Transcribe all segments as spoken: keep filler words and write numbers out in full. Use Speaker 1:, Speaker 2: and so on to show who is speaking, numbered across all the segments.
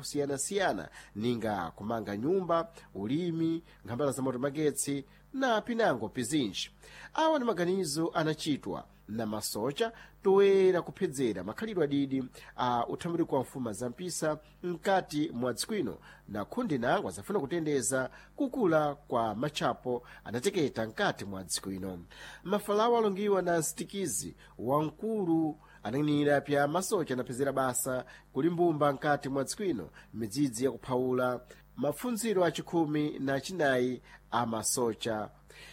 Speaker 1: akusiyana-siyana ninga kumanga nyumba, ulimi, nkhambala za moto, magetsi na pinango pizinji. Awa ni maganizo anachitwa na masocha toera kuphedzera makhalidwe adidi a uthambuliko wa mfuma za mpisa mkati mwa dziko ino, na khundi nango azafuna kutendeza kukula kwa matchapo anateketa mkati mwa dziko ino. Mafalawo alongiwa na msitikizi wamkulu anang'anira pya masocha anaphezera basa kuli mbumba mkati mwa dziko ino midzidzi yakuphawula mapfundziro achikhumi na chinayi a masocha.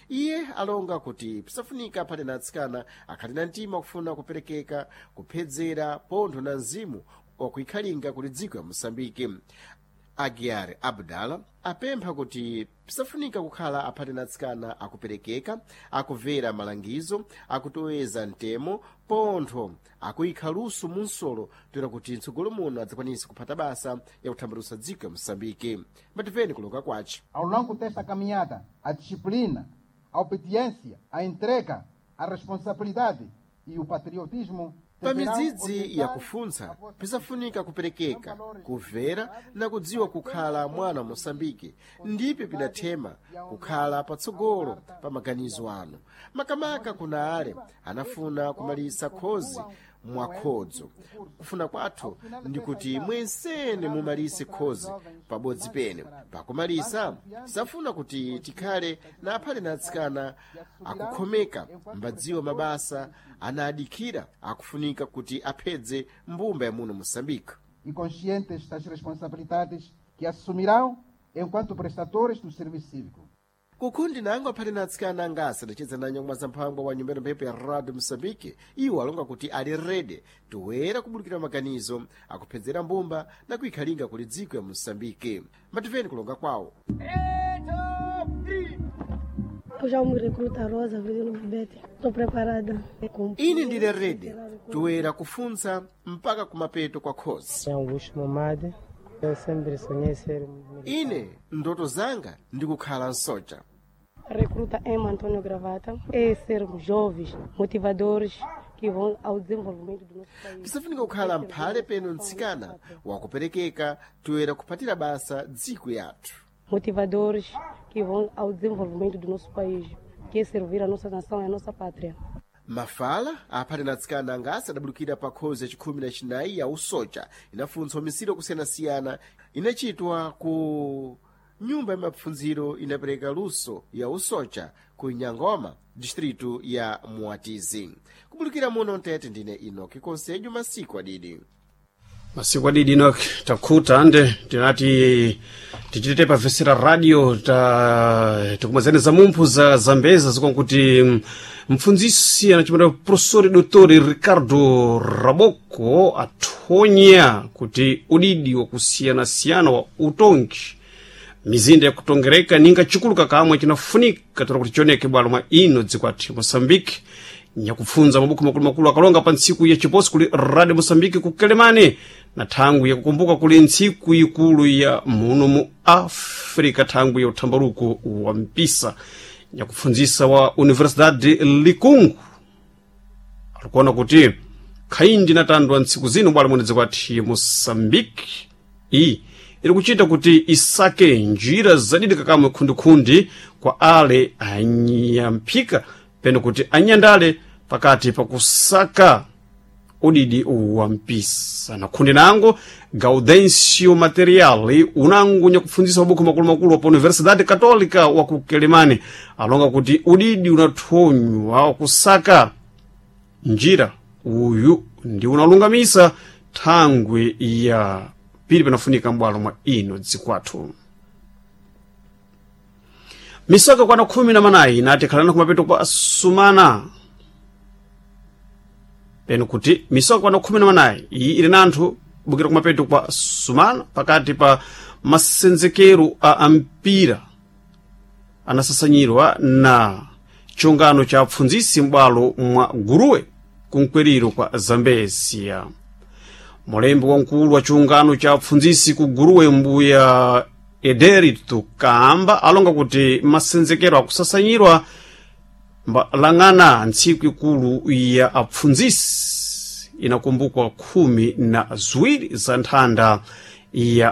Speaker 1: Iye alonga kuti pisafunika aphate na atsikana akhali na mtima wakufuna kuperekeka kuphedzera pontho na mzimu wakuikhalinga kuli dziko ya Moçambike. Aguiar Abdala apempha kuti pisafunika kukhala aphate na atsikana akuperekeka, akuvera malangizo, akutoweza mtemo pontho akuyikha luso munsolo toera kuti mtsogolo muno adzakwanise kuphata basa yakuthambalusa dziko ya Moçambike. Mbatimveni kuloka kwace.
Speaker 2: Ao longo desta caminhada, a disciplina, a obediência, a entrega, a responsabilidade e o patriotismo
Speaker 1: Pa midzidzi yakufuntsa pisafunika kuperekeka, kumvera na kudziwa kukhala mwana wa Moçambike ndipe pidathema kukhala patsogolo pa maganizo anu, makamaka kuna ale anafuna kumalisa khozi mwakhodzo. Kufuna kwathu ndi kuti mwensene mumalise khozi pabodzi pene. Pakumalisa safuna kuti tikhale na aphale na atsikana akukhomeka mbadziwa mabasa anadikhira akufunika kuti aphedze mbumba ya muno Moçambique.
Speaker 2: E conscientes das responsabilidades que assumirão enquanto prestadores do serviço cívico.
Speaker 1: Kukhundi nango aphate na atsikana angasi adacheza na nyamwa za mphangwa wa nyumba mphepo ya Radio Moçambique, iwo alonga kuti ali rede toera kubulukira maganizo akuphedzera mbumba na kuikhalinga kuli dziko ya Moçambique. Matimveni kulonga kwawo.
Speaker 3: Eu já me recruta Rosa Avelino Bubete. Estou preparada.
Speaker 1: Ine ndili rede toera kufuntsa mpaka kumapeto kwa khozi.
Speaker 4: Augusto Momade. Eu sempre sonhei ser militar.
Speaker 1: Ine ndoto zanga ndi kukhala msoja.
Speaker 3: Recruta M. Antônio Gravata. É sermos jovens, motivadores que vão ao desenvolvimento do nosso país.
Speaker 1: Pisafunika kukhala mphale peno mtsikana wakuperekeka toera kuphatira basa dziko yathu.
Speaker 3: Motivadores que vão ao desenvolvimento do nosso país, que é servir a nossa nação e a nossa pátria.
Speaker 1: Mafala aphate na atsikana angasi adabulukira pa khozi yachikhumi na chinayi ya usoja inafuntsa umisiri kusiyana-siyana inachitwa ku nyumba ya mapfundziro inapereka luso ya usoja ku Nyangoma, distritu ya Muatizi. Kubulukira muno mtete ndine Inoki Konsejo, masiku adidi.
Speaker 5: Masiku adidi Enoch, takhuta ande tinati tichitete pavesera radio ta tikumazani za mumphu za zambeza zikonkuti mpfundzisi anachimwera professori Doutor Ricardo Raboko athonya kuti udidi wakusiyana-siyana wa utongi mizinda yakutongereka ninga chikuluka kamwe chinafunika tola kuti chioneke bwalo mwa ino dziko athu Moçambique. Nyakupfunza mabuku makulumakulu akalonga pa ntsiku ya chiposi kuli Radio Moçambique ku Kelemane na thangwi yakukumbuka kuli ntsiku ikulu ya muno mu Africa, thangwi ya uthambaluko wa mpisa. Nyakupfundzisa wa Universidade Likungu alikuona kuti khaindi natandwa ntsiku zino bwalo mwene dziko athu Moçambique iyi iri kuchita kuti isake njira zadidi kakamwe khundikhundi kwa ale anyamphika peno kuti anyandale pakati pakusaka udidi wa mpisa. Na khundi nango Gaudencio Materiali unango nyakupfundzisa mabuku makulumakulu pa Universidade Católica wa ku Kelemane alonga kuti udidi unathonywa wakusaka njira uyu ndi unalungamisa thangwi ya pili panafunika m'bwalo mwa ino dzikwathu. Misaka kwana khumi na manayi inati khalana kumapeto kwa sumana peno kuti misaka kwana khumi na manayi iyi ili na anthu bukira kumapeto kwa sumana pakati pa masenzekero a ampira anasasanyirwa na chungano cha apfundzisi m'bwalo mwa Guruwe kunkweriro kwa Zambezia. Mulembi wamkulu wa chiungano cha apfundzisi ku Guruwe mbuya Ederito Kamba alonga kuti masenzekero akusasanyirwa mbalang'ana ntsiku ikulu ya apfundzisi inakumbukwa khumi na ziwiri za nthanda ya